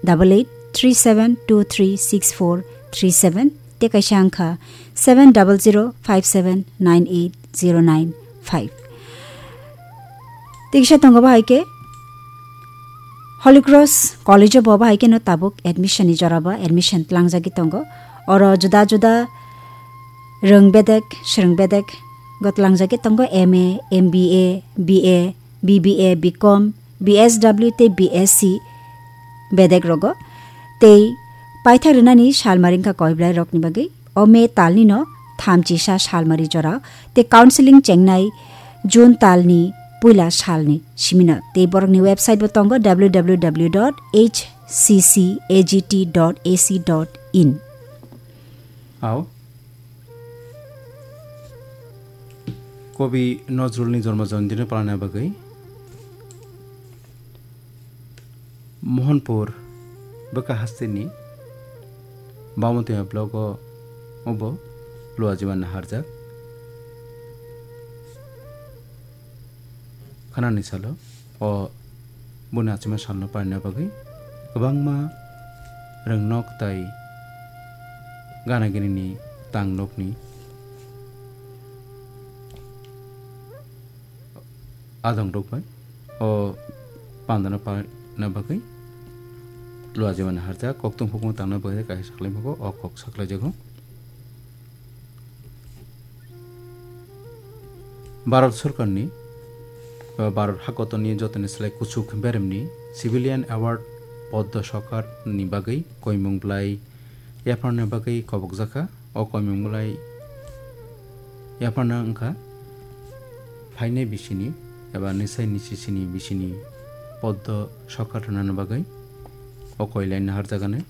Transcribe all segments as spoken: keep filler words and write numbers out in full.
double eight three seven two three six four three seven, tei kaisa wngkha seven double zero five seven nine eight zero nine five. Tei kisa tongo bahai khe Holy Cross College o bo bahai kheno tabuk admission ni jora ba admission tlangjagwi tongo. Oro juda juda rwng bedek, swrwng bedek go tlangjagwi tongo, M A, M B A, B A, B B A, B Com, B S W tei B S C bedek rogo. Tei paithak rwnani salmari wngkha koiblai rokni bagwi. O May talni no thamchisa salmari jora tei counseling chengnai June talni puila salni simino. Tei borokni website bo tongo, W W W dot H C C A G T dot A C dot in. Ao. Kobi Nozrulni jormo jayantino palana bagwi Mohanpur bwkha hasteni Bamotwi blogo obo Luajiman naharjak. Khanani salo o boni achima salno paina bagwi kwbangma rwngnok tai gana ginini tangnokni adong rok bai o pandano paina bagwi Luajiman naharjak, kokthum hukumu tangna bagwi kaisa saklai mago, o kok saklai jago. Bharat Sorkarni, ba Bharat Hakotorni jotoni slai kuchuk beremni Civilian Award Padma Shakar ni bagwi koimung bwlai yapharna bagwi kobokjakha. O koimung bwlai yapharna wngkha phainai bisini eba nisai nisisini bisini Padma Shakar rwnani bagwi o koilai naharjagani.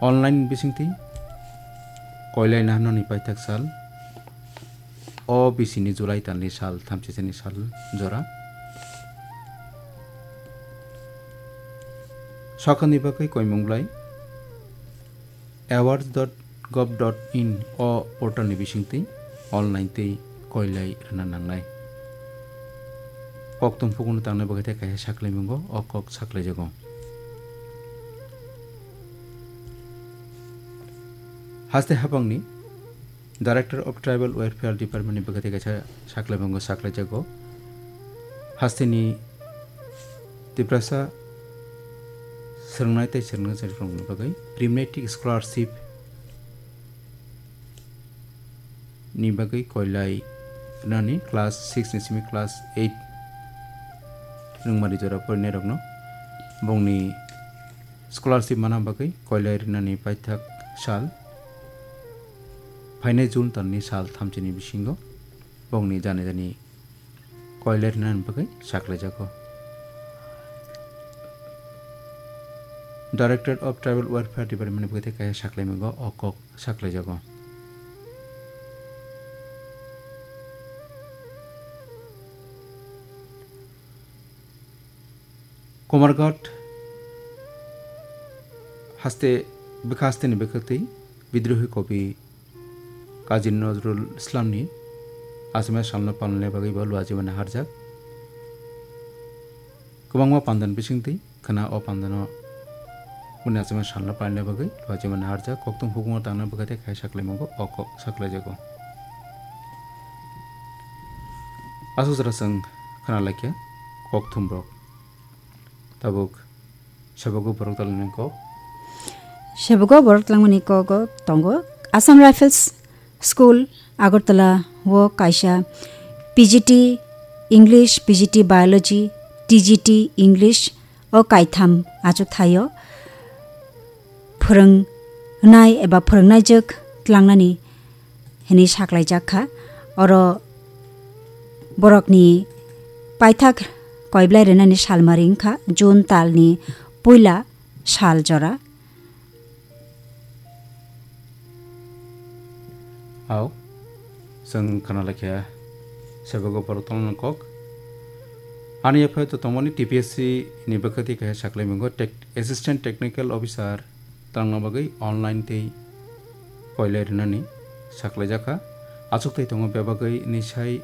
Online bisingtwi koilai naharnani paithak sal. O bisini July talni sal, thamchisani sal jora. Sakani bagwi koimung bwlai awards dot gov dot in o portalni bisingtwi online twi koilai rwna nangnai. Kokthum hukumu tangna bagwi tei kaisa saklaimungo o kok saklaijago. Haste hapangni Director of Tribal Welfare Department ni bagwi tei kaisa saklaimungo saklaijago. Hasteni Tiprasa swrwngnai tei swrwngnairokni bagwi Primary Scholarship ni bagwi koilai rwnani class six ni simi class eight rwngmani jora porinairokno bongni scholarship mana bagwi koilai rwnani paithak sal phainai June talni sal thamchini bisingo bongni jani jani koilai rwnani bagwi saklaijago. Director of Tribal Welfare Department ni bagwi tei kaisa saklaimungo o kok saklaijago. Kumarghat haste bwkha hasteni bwkhaktwi bidrohi kobi Kazi Nazrul Islamni achima salno palnani bagwi bo Luajiman naharjak. Kwbangma pandan bisingtwi khna o pandano boni achima salno palnani bagwi Luajiman naharjak, kokthum hukumu tangna bagwi tei khai saklaimungo o kok saklaijago. Aswk jora chwng khna laikha kokthumrok. Tabuk Sebogo borok twlangmani kok. Sebogo borok twlangmani kogo tongo. Assam Rifles School, Agartala o kaisa P G T English, P G T Biology, T G T English o kaitham achuk thaio. Phwrwngnai eba phwrwngnaijwk tlangnani hwnwi saklaijak kha. Oro borokni paithak koiblai rwnani salmari wngkha June talni puila sal jora. Ao, chwng khna laikha sebogo borok tongmani kok. Ani yaphai to tongmani T P S C ni bwkhati kaisa saklaimungo tech-, Assistant Technical Officer tangna bagwi online tei koilai rwnani saklaijakha. Achuk tei tongo bebagwi ni sai